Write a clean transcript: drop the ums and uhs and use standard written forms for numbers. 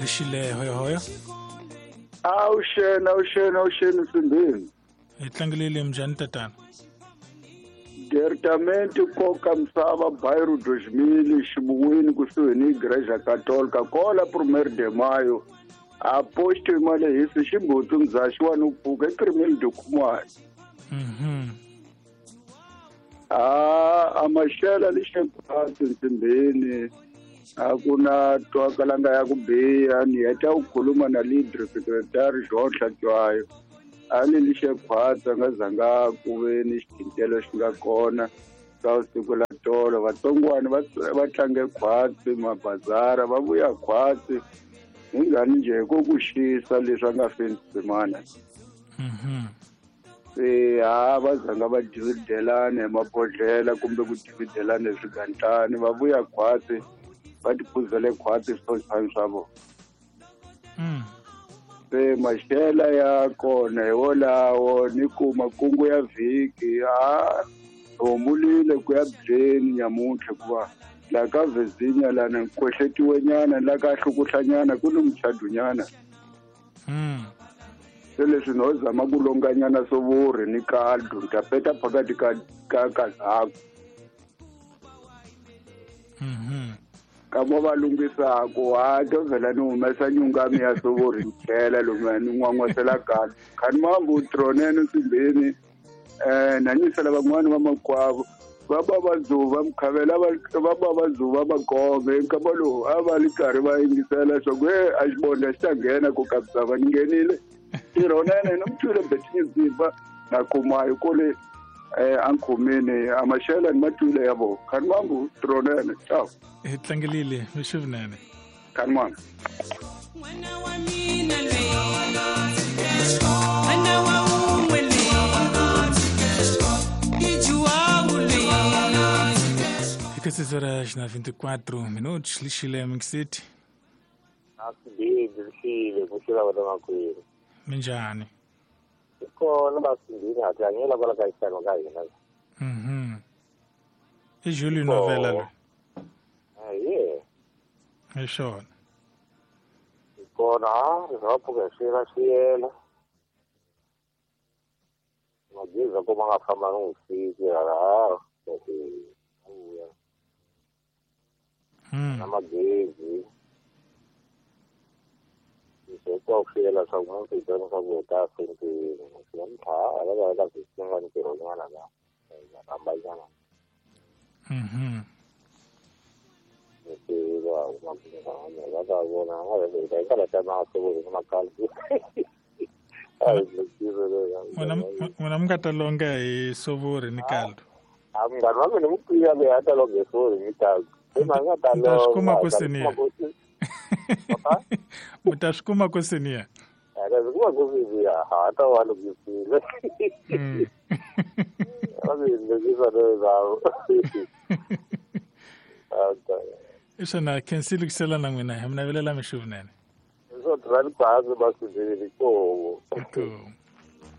Lexile hoyohoyo. Awuxeni, awuxeni, awuxeni Nsimbini. Hi tlangelele minjhani tatana? Departamento Koka Misava Bairro 2000 Ximun'wini kusuhi ni Igreja Católica kola 1 de Maio a posto imalehisi ximbuti mzaxi wa nupfuka i 1 de Khumani. A amaxela lexekhwatsi Nsimbini a ku na twakalanga ya ku biha ni heta ku khuluma na leader secretary Jean Hlatshwayo a ni lixekhwatsi a nga zanga ku ve ni xithintelo xi nga kona ka siku la tolo vatsongwana va tlange khwatsi mabazara va vuya khwatsi hi ngani njhe ko ku xisa leswi a nga feni tsimana. Se ha va zanga va dividelana hi mabodhlela kumbe ku dividelana hi swigantlani va vuya khwatsi va tiphuzele khwatsi switshani swa vona. Se maxela ya kona hi wolawo ni ku makungu ya vhiki a humulile ku ya byeni nyamuntlha hikuva laha ka Virginia lana kwehletiwenyana la ka hlukuhlanyana ku ni muchadunyana. Se leswi no zama ku longanyana sovori ni kaldu ni ta peta phakathi ka kazaku. Ka mo va lunghisaku ha to vhela ni humesa nyungami ya sovori ni tlhela lomuya ni n'wan'wasela kaldu khani mambu tronene Nsimbini na nyisela van'wani va makwavo va ba va dzuva mukhavela va ba va dzuva magome nkama lowu a va li karhi va yingisela swa ku a xibondla xi ta nghena ku kabisava ni nghenile tirhonene ni mutwile betinyizimba na kumayo kule a nkhumini a maxela ni matwile ya vona khani mambu tronene ciao. Hi tlangelile mixivunene. Khani mambu. N'wana wa mina loyi, n'wana wa wun'we loyi, i Juwawu loyi. Fica 6 horas na 24 minutos, Lixile Mixit. Asibili lixile kuxila wena makwenu. Minjhani? Kona basindini a tlangela kwala ka xitano ka hina. I Julio Novela loyi. Aye. Hi swona. Kona ri nga pfuka swi ra swiyela. Mageza ko ma nga famba ni vusiku hala vuya. Na magezi. Swi twa ku swiyela swa ku munhu i twa swa ku heta fenteni. Swi nga ntlha hala va ka swin'wana ntirhonyana la. Hambanyana. N'wina mi nga ta longa hi sovori ni kaldu. A munghana wa mina mukwiya loyi a ta longa hi sovori ni kaldu. Se ma nga ta Mi ta swi kuma longa, ku senior. Mi ta swi kuma ku senior. A ta swi kuma ku senior, ha ta va lunghisile. Va swi lunghisa leswaku. I swona khensi lukisela na n'wina hi mi navelela mixo vunene. Swo tirha ni bazi basindini koho. Inkomu.